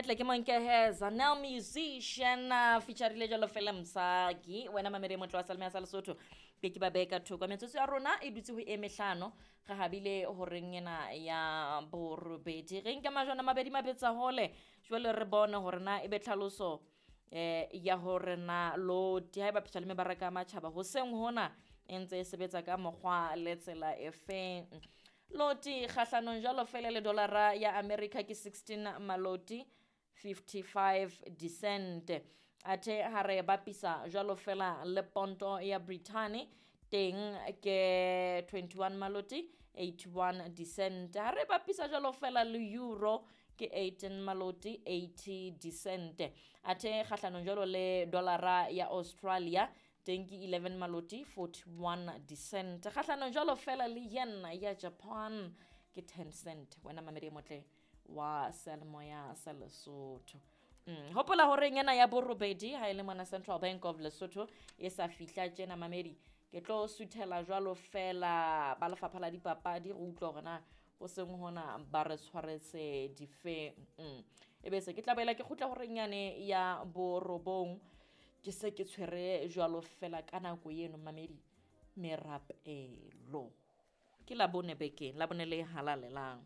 Re tle ke monkehe Zanel musician featurile jalo fela Msaki. Wena mamedi motle wa Salme ya sa Lesotho. Ke ke ba behe ka thoko. Metsotso ya rona e dutse ho e mehlano. Re habile horeng ena ya borobedi. Re nke majwana mabedi mabetsa hole. Jwale re bone hore na ebe tlhaloso ya hore na loti ha e bapiswa le mebaraka ya matjhaba hoseng hona e ntse e sebetsa ka mokgwa le tsela e feng. Loti kgahlanong jwalo fela le dolara ya America ke 16 maloti 55 dicent. Athe ha re bapisa jwalo fela le ponto ya Britain teng ke 21 maloti 81 dicent. Ha re bapisa jwalo fela le euro ke 18 maloti 80 dicent. Athe kgahlanong jwalo le dolara ya Australia teng ke 11 maloti 41 dicent. Kgahlanong jwalo fela le yen ya Japan ke 10 cent. Wena mamedi e motle wa seyalemoya sa Lesotho. Hopola hore ena ya borobedi ha e le mona Central Bank of Lesotho e sa fihla tjena mamedi, ke tlo suthela jwalo fela ba lefapha la dipapadi re utlwa hore na ho seng hona ba re tshwaretse dife. E be se ke tla boela ke kgutla horeng yane ya borobong, ke se ke tshwere jwalo fela ka nako eno mamedi merapelo. Ke Labone bekeng, Labone le halalelang.